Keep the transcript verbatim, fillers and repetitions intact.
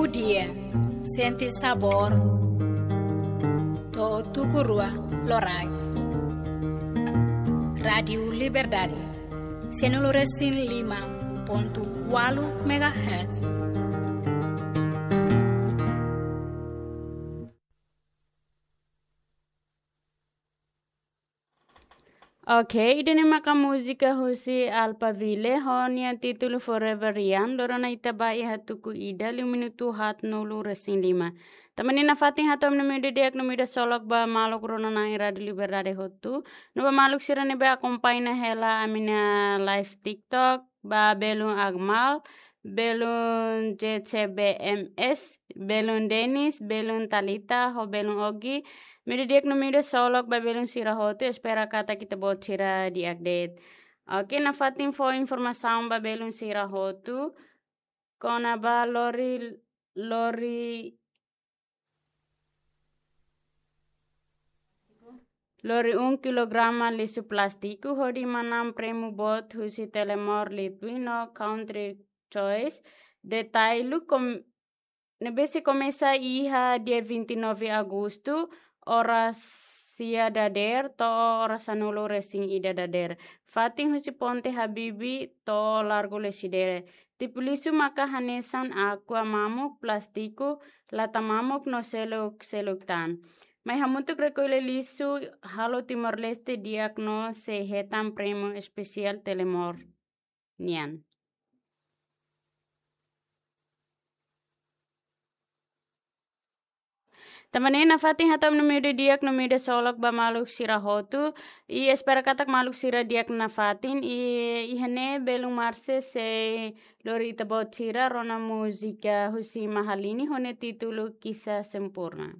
Dia, sente sabór, to'o tuku rua loraik. Rádiu Liberdade, sianulu resin lima pontu ualu megahertz. Oke, ida-ne'e maka múzika husi Alphaville, ho nia títulu Forever Young, loron ne'e ita ba iha tuku ida, liu minutu haatnulu resin lima. Tanba ne'e nafatin hato'o ami-nia imi ida di'ak no imi ida solok ba maluk rona-na'in Rádiu Liberdade hotu, no ba maluk sira ne'ebé akompaña hela ami-nia live TikTok, ba belun Akmal, belun J C B M S, belun Denis, belun Talita, ho belun Ogi. Imi ida di'ak no imi ida solok ba belun sira hotu, espera katak ita-boot sira di'ak de'it. Oke, nafatin fó informasaun ba belun sira hotu kona-ba lori, lori lori um kilograma lixu plástiku hodi manán prémiu boot husi Telemor Litwin no Country Choice. Detalle kom-, ne'ebé sei komesa iha dia vinte e nove Agostu, oras sia dadeer to'o oras sanulu resin ida dadeer. Fatin husi Ponte Habibie to'o Largo Lecidere. Tipu lixu maka hanesan aqua mamuk, plástiku, lata mamuk no seluk-seluk tan. Mai hamutuk rekolla lixu, halo Timor-Leste di'ak no sei hetan prémiu espesiál Telemor nian. Tanba ne'e nafatin hato'o ami-nia imi ida di'ak no imi ida solok ba maluk sira hotu. I espera katak maluk sira di'ak nafatin. I iha ne'e belun Marse sei lori ita-boot sira rona múzika husi Mahalini ho nia títulu Kisah Sempurna.